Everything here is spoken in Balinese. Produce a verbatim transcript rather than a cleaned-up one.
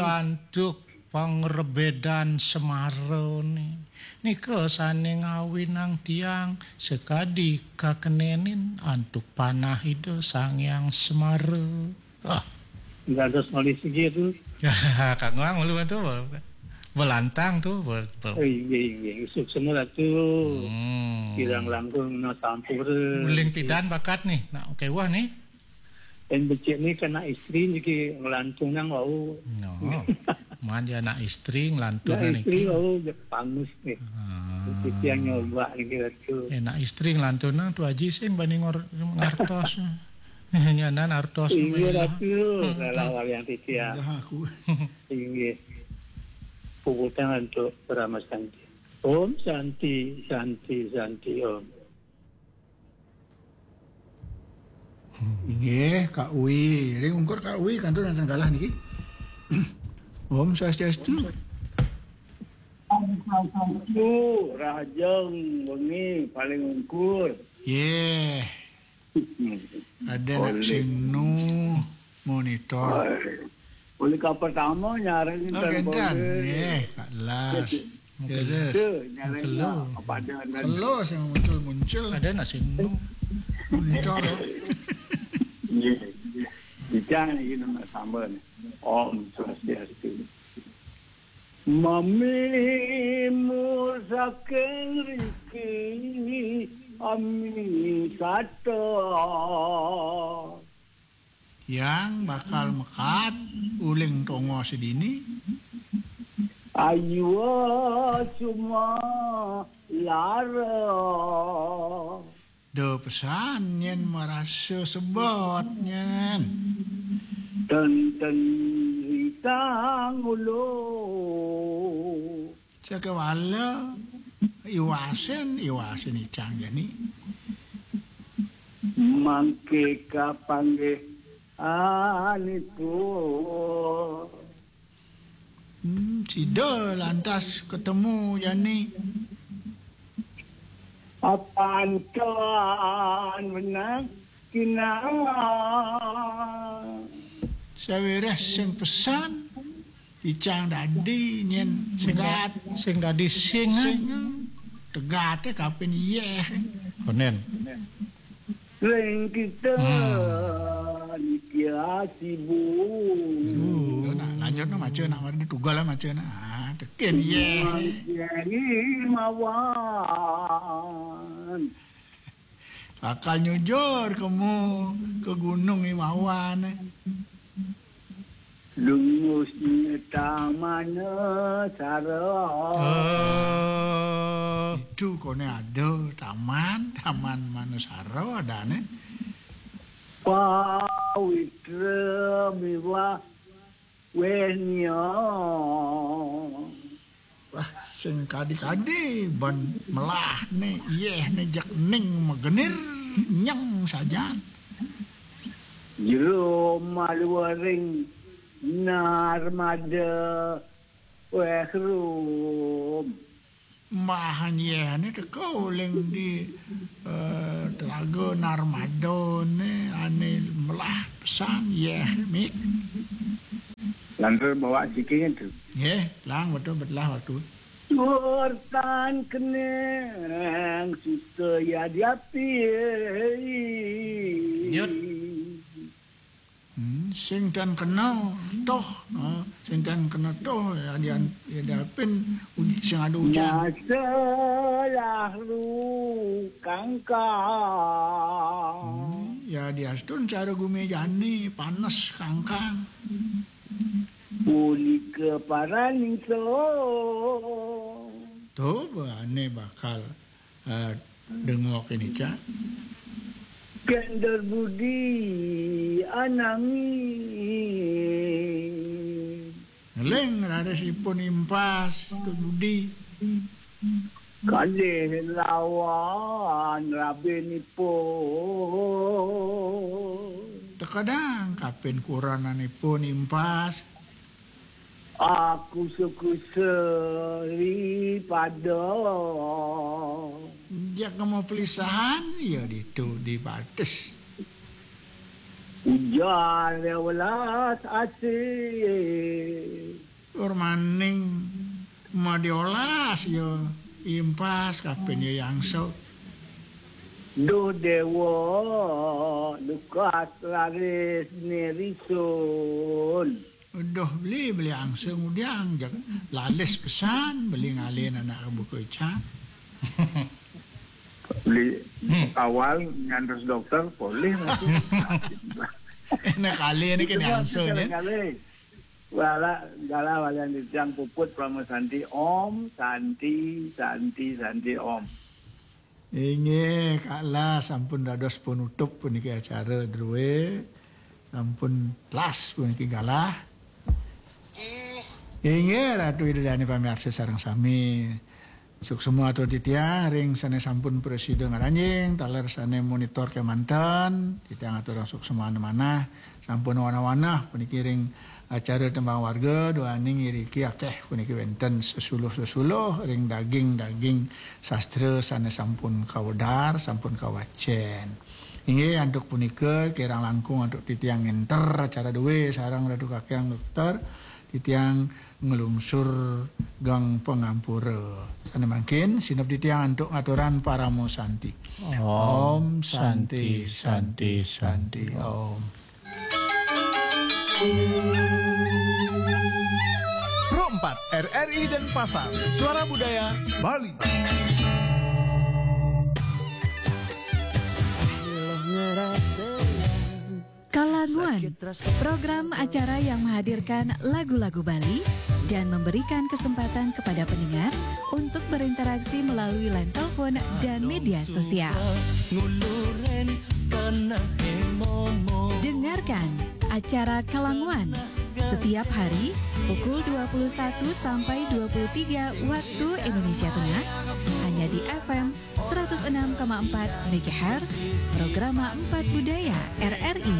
Antuk pangrebedan Semara ni. Nika sané ngawinang tiang sakadi kakenenin antuk panah Ida Sang Hyang Semara. Ah. Dados malih sugih tu. Kang Wang malu tu. Belantang tu, be-, be- Oh, inggih, inggih. Suksma Ratu. Hmm. Kirang langkung na sampura. Uling pidan bakat nih. Nak kéweh nih. Dan becik ni kena istri niki ngelantunang wau. No. Man ya anak istri ngelantunang niki. Anak istri wau je pangus nih. Ah. Titiang nyoba niki Ratu. Eh, anak istri ngelantunang tu Haji sing bani ngor-, ngartos. Nyanan artos. Inggih, Ratu. Hmm, rela walian titiang. Dah aku. Inggih. Puputang untuk Parama Santi. Om Santi, Santi, Santi, Om. Inggih, Kak Uwi. Ring ungkur Kak Uwi, kantun wonten galah niki. Om Swastiastu. Om Swastiastu, rahajeng wengi paling ungkur. Yeh. Ada nak sing nu monitor. Oleh ka pertama nyareng. Oh, kan, kenten. Boleh. Yeh, Kak Las. Terus. Itu, nyareng. Hello. Apa ada, ada. Hello, sing muncul-muncul. Ada nak sing nu monitor, ya. Iya, iya. Bicara ini nama sambal nih. Om Swastiastu. Mami mur saking riki, ami sata. Yang bakal mekat uling tongo sedini. Ayua cuma lara. Da pesan nyen marasa sebot nyen. Tenten risang ulu. Sakewala iwasin, iwasin icang jani. Mangke kapanggih aniku. Hmm, sida lantas ketemu jani. Apan tuan menang kinang. Sawiréh sing pesan, icang dadi nyen sing da-, megat. Sing dadi sing. Sing, tegaté kapin yéh. Konen. Ring kita. Hmm. Niki asibu. Yo, nak lanjut nak maca nak mari tugal lah maca nak. Ah, tekin yéh. Mangkeni mawan. Bakal nyujur kemu ke Gunung Imawan. Lungusnya taman sara. Oh. Itu kone ada taman, taman manusara adane. Pawitra miwah wehnya. Wah, sing kadi-kadi ban melahne, yehne jeg ning magenir nyeng sajan. Jero maluwering narmada wehrum. Mbahan yehne teka uling di, eh, telaga narmadane ane melah pesan yeh mik. Lantur bawa sikingnya tu. Nggih, lang betul betlah waktu. Tuwurtan keneng suta yadiapi. Nyut. Hmm, sing tan kena toh, ha, sing tan kena toh, ya, dia, ya, dia pin uj-, sing ada ujan. Masalah lu kangkang. Hmm, ya, dia stun cara gumi jani, panas kangkang. Punika paraning so. Tuh, ane bakal, eh, dengok ini, Cak. Kender budi ananging. Ngeling raris ipun impas, Tuh Budi. Kalih lawan rabinipun. Tekedang kapin kurananipun impas. Aku suku seri pada. Jak mau pelisahan, ya ditu di batis. Ujar ya welas asih. Aning madiolas ya impas kapen ya yangso. Duh dewa, lukas laris nirisun. Duh beli, beli angsa ngudiang, jak lalis pesan, beli ngalih anak buku ica. Beli awal ngantos dokter, polih masih. Enak kali ini kena angsa, ya. Wala, gala walian titiang puput Parama Santi. Om Santi, Santi, Santi, Om. Inggih, Kak Lah, sampun dados penutup puniki acara druwe. Sampun las puniki galah. Inggih, Ratu Ida Dane pamiarsa sareng sami. Suksma atur titiang ring sane sampun prasida ngranjing, taler sane monitor kemanten, titiang aturang suksma manah. Sampun wanah-wanah puniki ring acara tembang warga, duaning iriki akeh puniki wenten sesuluh-sesuluh ring daging-daging sastra sane sampun kawedar, sampun kawacen. Inggih, antuk punika kirang langkung antuk titiang ngenter acara duwe sareng Ratu Kakang Dokter, titiang nglungsur gang pangampura. Sane mangkin, sineb titiang antuk ngaturan parama santi. Om Santi, Santi, Santi, Om. Pro empat, R R I Denpasar, Suara Budaya Bali. Kalanguan, program acara yang menghadirkan lagu-lagu Bali dan memberikan kesempatan kepada pendengar untuk berinteraksi melalui line telepon dan media sosial. Dengarkan acara Kalanguan setiap hari pukul dua puluh satu sampai dua puluh tiga waktu Indonesia Tengah, hanya di F M seratus enam koma empat megahertz, Programa Empat Budaya R R I